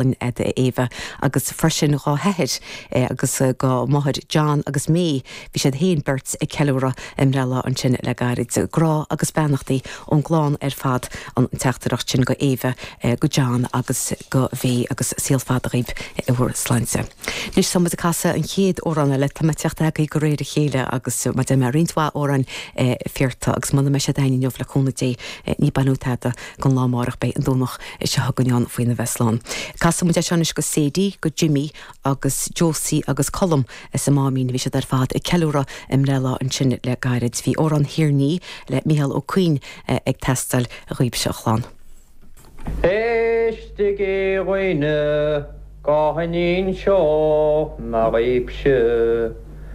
Fhada a Éabha agus freisin dhá hathair agus dhá máthair John agus May, bhí siad féin beirt ag ceiliúradh a mbreithlá ansin le gairid. Grá agus beannachtaí ón gclann ar fad an teachtaireacht sin go Éabha, go John agus go Mhay agus saol fada dhaoibh i bhur sláinte. Anois tá muid ag casadh an chéad amhrán eile, tá mé ag teacht agaibh de réir a chéile agus mar deir mé roinnt mhaith amhráin fiarta agus muna mbeidh siad againn inniu le cúnamh Dé ní baineadh tada gon lá amárach beidh an Domhnach seo chugainn ann faoina bheith slán. Casfaidh muid é seo anois go Sadie, go Jimmy agus Josie agus Colm sa Máimín. Bhí siad ar fad ag ceiliúradh a mbreithlá ansin le gairid. Bhí Amhrán Thír an Fhia le Mícheál Ó Cuinn ag teastáil dhaoibhse a chlann. Éistigí a dhaoine go n-inseoidh mé dhaoibhse.